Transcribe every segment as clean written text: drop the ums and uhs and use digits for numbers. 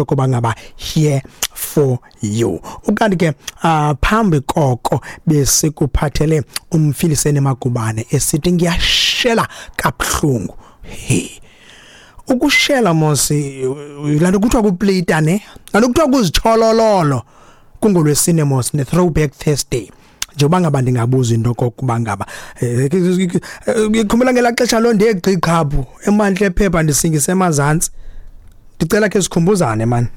Yokuba ngaba here for you. Ukanti ke phambi koko besikuphathele umfilisene Magubane esithi ngiyashela kabuhlungu. Hey, ukushela mosi lanto kuthiwa kuplita ne lanto kuthiwa kuzitsholololo. Kungolwesine mos, ne Throwback Thursday. Njengoba ngaba ndingabuza into kokuba ngaba ikhumbula ngelaa xesha loo ndegqiqhaphu emantle ephepha ndisingise emazantsi, ndicela khe sikhumbuzane man,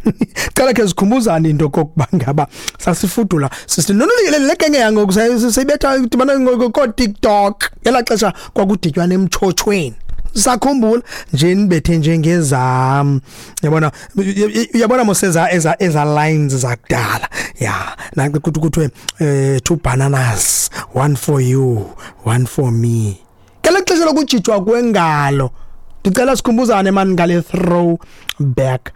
cela khe sikhumbuzane into kokuba ngaba sasifudula sisithi le genge yangoku seyibetha dibana koo-TikTok. Ngelaa xesha kwakuditywana emtshotshweni. Sakhumbula nje nibethe njengezam, yabona, uyabona mos eza lines zakudala ya nanti kuthi kuthiwe two bananas, one for you, one for me, ngelo xesha lokujijwa kwengalo. Ndicela sikhumbuzane mani ngale Throwback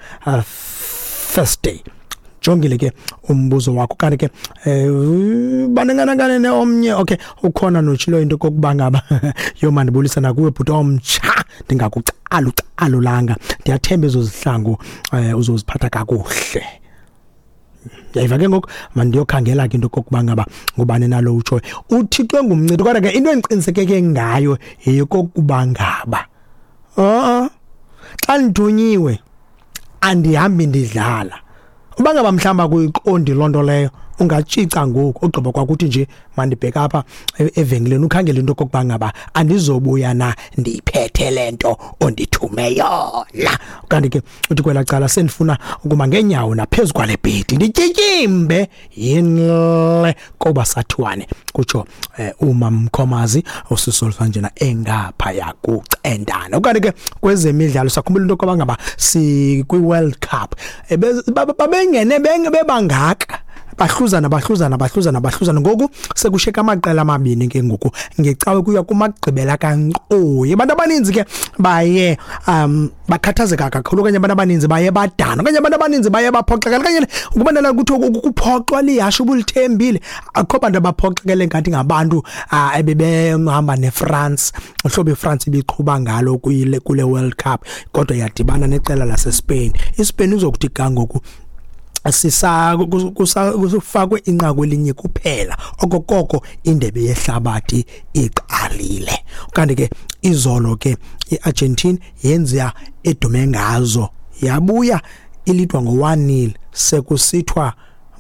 Thursday. Jongile ke umbuzo wakho. Kanti ke banenganakane omnye, okay, ukhona notshilo into kokuba ngaba yo mandibulisa nakuwe bhuti omtsha, ndingakucala ucalulanga, ndiyathemba ezo zihlangu uzoziphatha kakuhle. Yayiva ke ngoku, mandiyokhangela ke into kokuba ngaba ngubani nalo utshoyo uthixo ngumncedi. Kodwa ke into endiqinisekeke ngayo yeyokokuba ngaba xa ndithunyiwe andihambi ndidlala. Uba ngaba mhlawumbi akuyiqondi loo nto leyo, ungatshica ngoku ogqiba kwakuthi nje mandibheke apha evenkileni ukhangele into okokuba ngaba andizobuya na ndiyiphethe le nto ondithume yona. Kanti ke uthi kwelaa cala sendifuna ukuma ngeenyawo naphezu kwale bhedi ndityityimbe yinle koba sathiwane, kutsho umamkhomazi osisolfa njena engaphaya kucendana. Ukanti ke kwezemidlalo sakhumbula into yokuba ngaba sikwi-World Cup, babengene bebangaka, bahluzana, bahluzana, bahluzana, bahluzana. Ngoku sekusheka amaqela amabini ke ngoku. Ngecawe kuya kumagqibela kankqoyi. Abantu abaninzi ke baye bakhathazeka kakhulu, okanye abantu abaninzi baye badana, okanye abantu abaninzi baye baphoxekela, okanye ukuba nala kuthiwa kuphoxwa lihashe ubulithembile. Akukho bantu abaphoxekele ngathi ngabantu ebebehamba neFrance, uhlobo iFrance ibiqhuba ngalo kule World Cup, kodwa yadibana neqela laseSpain. ISpain izokuthi ga ngoku sisa kusufakwe inqaku elinye kuphela okokoko indebe yehlabathi iqalile. Kanti ke izolo ke iArgentina yenza edume ngazo, yabuya ilidwa ngo-1-0, sekusithwa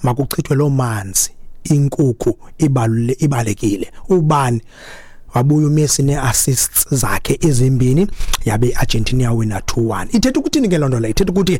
makuchithwe loo manzi, inkukhu ibalule ibalekile ubani. Wabuya uMessi nee-assists zakhe ezimbini, yabe iArgentina yawina 2-1. Ithetha ukuthini ke loo nto leyo? Ithetha ukuthi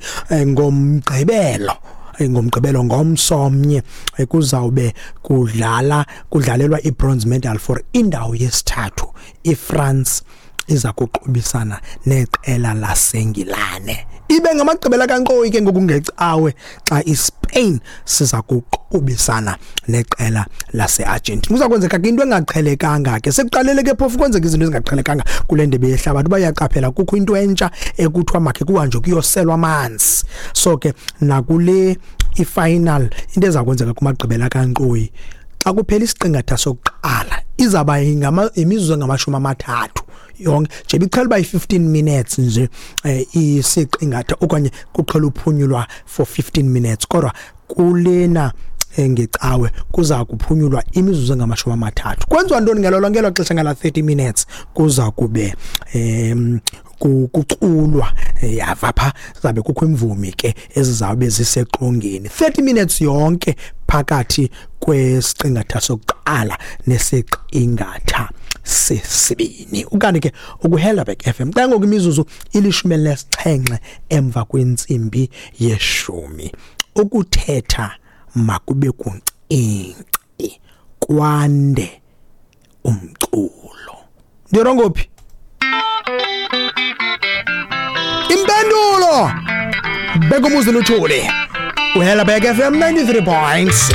ngomgqibelo ngomsomnye kuzawube kudlala kudlalelwa i-bronze medal for indawo yesithathu. IFrance iza kuqubisana neqela laseNgilane. Ibe ngamagqibela kankqoyi ke ngoku ngecawe xa iSpain siza kuqubisana neqela laseArgentina. Kuza kwenzeka ke into engaqhelekanga ke. Sekuqalele ke phofu kwenzeka izinto ezingaqhelekanga kule ndebe yehlabathi. Bayaqaphela kukho into entsha ekuthiwa makhe kuhanjwe kuyoselwa amanzi. So ke nakule ifinal, into eza kwenzeka kumagqibela kankqoyi, xa kuphela isiqingatha sokuqala izawuba imizuzu engamashumi amathathu yonke nje. Ibiqhela uba yi-15 minutes nje isiqingatha, okanye kuqhela uphunyulwa for 15 minutes, kodwa kulena ngecawe kuza kuphunyulwa imizuzu engamashumi amathathu. Kwenziwa ntoni ngelo lonke elo xesha? Ngala 30 minutes kuza kube kuculwa, yava pha, zabe kukho imvumi ke ezizawube ziseqongeni 30 minutes yonke phakathi kwesiqingatha sokuqala nesiqingatha sesibini. Ukanti ke ukuHelderberg FM xa ngoku imizuzu ili-17 emva kwentsimbi yeshumi. Ukuthetha makube kuncinci, kwande umculo. Ndirongophi impendulo? Beka umuzi luthuli. UHelderberg FM 93.6.